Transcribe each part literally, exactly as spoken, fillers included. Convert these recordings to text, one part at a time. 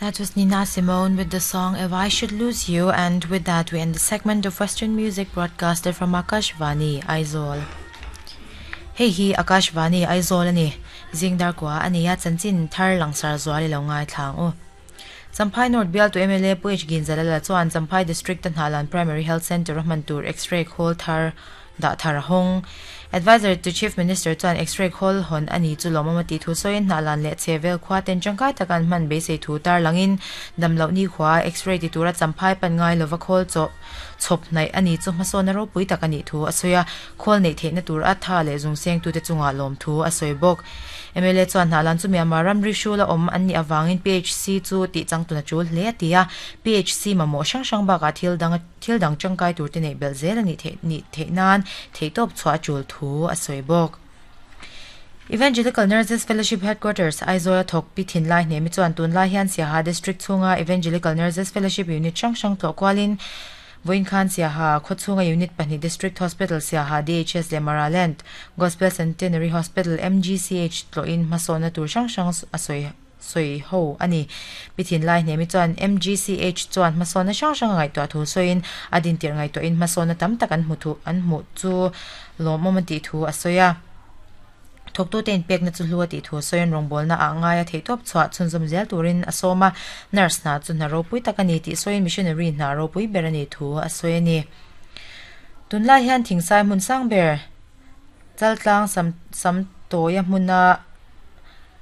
That was Nina Simone with the song If I Should Lose You, and with that we end the segment of Western music broadcasted from Akashvani, Aizawl. Hei hi Akashvani Aizawl ani zingdar kwa ania chanchin thar langsar zuali lo ngai thlang u. Champhai North Bial to M L A Pu H Ginzalala chuan Champhai District Hnalan Primary Health Center hman tur X-ray khol thar da thar hong. Advisor to Chief Minister chuan X-ray khol hon ani chu lomamati thu soin Hnalan le chevel khwa ten changkai takan man be sei thu tar langin damlo ni khwa X-ray ti tura Champhai pan ngai lova khol cho chop nai ani chu hmasona ro pui takani thu asoya khol nei theina tur a tha le zungseng tu te chunga lom thu asoi bok. M L A chuan Hnalan chu Myanmar ramri shula om anni awangin P H C chu ti changtuna chul hle atia P H C mamo sang sang ba ka thil dang thil dang changkai tur te nei bel zel ani the ni theinan theitop chwa chul thu asoi bok. Evangelical Nurses Fellowship Headquarters Aizawl thok pi thin lai ne mi chuan tun lai hian Siaha District chunga Evangelical Nurses Fellowship Unit chang sang tlo kwalin Voin Khan Siaha Khochunga Unit Pahnih District Hospital Siaha D H S le Maraland Gospel Centenary Hospital M G C H tloin hmasona tur sang sang asoi soi ho ani pithin lai ne mi chuan M G C H chuan hmasona sang sang ngai to thu soin adin tir ngai to in hmasona tam tak an hmu thu an hmu chu lomom ti thu asoya thok tu ten pek na chu hluwa ti thu soin rongbol na a ngaia theitop chwa chunzum zel turin asoma nurse na chu na ropui takani ti soin missionary na ropui berani thu asoini tunlai hian thingsai mun sang ber chaltlang sam sam toya hmuna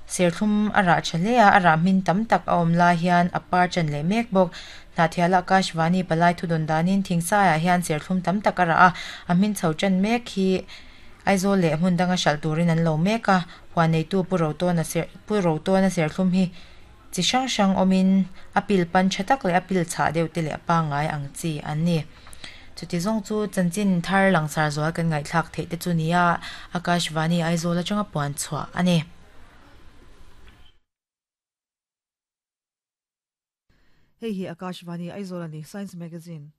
serthum ara chalea ara min tam tak a awm lai hian a par chan leh mek bawk. Hnathiala Akashvani palai thudun danin thingsai ah hian serthlum tam tak ara a a hmin chho chan mek hi Aizawl leh hmun danga hral turin an lo mek a huan neitu pu ro tawn a ser pu ro tawn a serthlum hi chi hrang hrang awmin a pil pan tha tak leh a pil chhah deuh te leh a pangngai ang chi an ni. Chuti zawng chu chanchin thar langsar zual kan ngaihthlak theih te chu nia Akashvani Aizawl atanga puan chhuah ani. Hei hi Akashvani Aizawl ani Science Magazine.